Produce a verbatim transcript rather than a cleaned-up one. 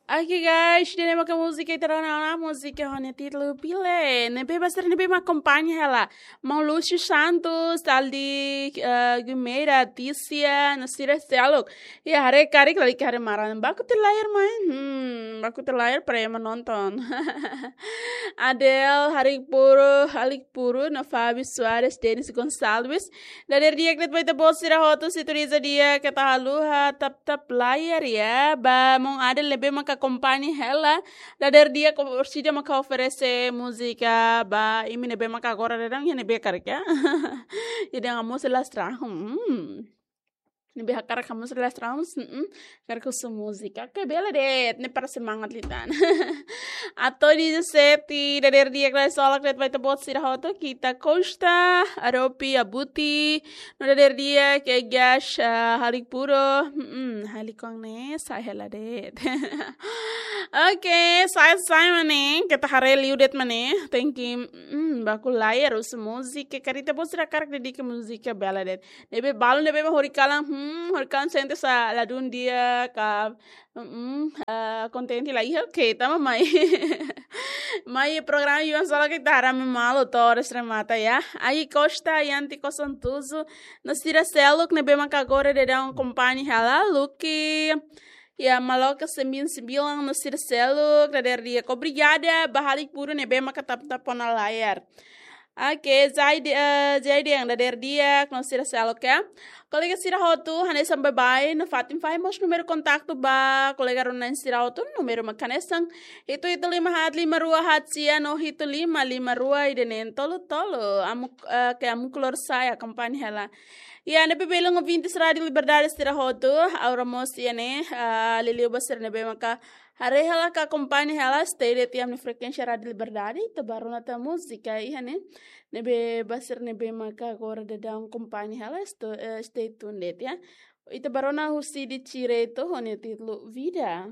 Oke guys, ida-ne'e maka múzika ita rona ona, múzika ho nia títulu Pile. Ne'ebé ba sira ne'ebé mak akompaña hela. Maun Lúcio Santos, Aldi, eh, Guimeira, Tícia, no sira seluk. Ya, haree karik lalika haree maran. Baku tiha layar mai. Hmm, baku tiha layar para ema nonton. Adel, Harik Puru, Halik Puru, no Fábio Soares, Denis Gonçalves. Dadeer di'ak de'it ba ita-boot sira hotu, sintoniza di'ak, keta haluha tap-tap layar ya. Ba maun Adel ne'ebé maka akompaña hela. Dadeer di'ak, orsida maka oferese múzika ba imi ne'ebé maka agora daudaun iha ne'ebé karik ya. Jadi anga mós elas trahu. Hmm. Ne'ebé hakarak hamoos elas trahu. Hmm. Hakarak husu múzika. Oke, bele de'it. Ne'e para semangat liután. Ato dezassete, dadeer di'ak, krai solak de'it ba ita-boot sira hotu, Kita Costa, Aropi, Abuti, no dadeer di'ak, Egas, ah, Halik Puru, mm, Halik Kong ne'e, sai hela de'it. Oke, sai, sai mak ne'e, keta haree liu de'it mak ne'e, tenke, mm, baku layar husu múzika, karik ita-boot sira hakarak dedika múzika bele de'it. Ne'ebé balu, ne'ebé mak horikalan, hmm, horikalan sente sá ladún di'ak, mm, ah, kontente la iha, oke, tama mai. Mai programa Yuan Sola ke tara me malu Torres remata ya. Ai Costa, Yanti Koson Tuzu, no sira seluk ne'ebé maka agora daudaun akompaña hela, Luki. Ya, Maloka sembilan sembilan, no sira seluk, dadeer di'ak. Obrigada ba Halik Puru ne'ebé maka tap-tap ona layar. Oke, Zaidi, eh, Zaidi yang dadeer di'ak, no sira seluk ya. Kolega sira hotu, hanesan baibain, no fatin fahe mós númeru kontaktu ba kolega rona-na'in sira hotu, númeru mak hanesan hitu hitu lima haat lima rua haat sia no hitu lima lima rua ida neen tolu tolu. Amu, eh, ke amu klor sai akompaña hela. Ya, ne'ebé belun ouvintes Rádio Liberdade sira hotu, agora mós iha ne'e, ah, liuliu ba sira ne'ebé maka haree hela ka akompaña hela, stay de'it iha ami-nia frekuénsia Rádio Liberdade, ita bá rona tan múzika iha ne'e. Ne'ebé ba sira ne'ebé maka agora daudaun akompaña hela, sto-, eh, stay tuned de'it ya. Ita bá rona husi Didi Tireto, ho nia títulu Vida.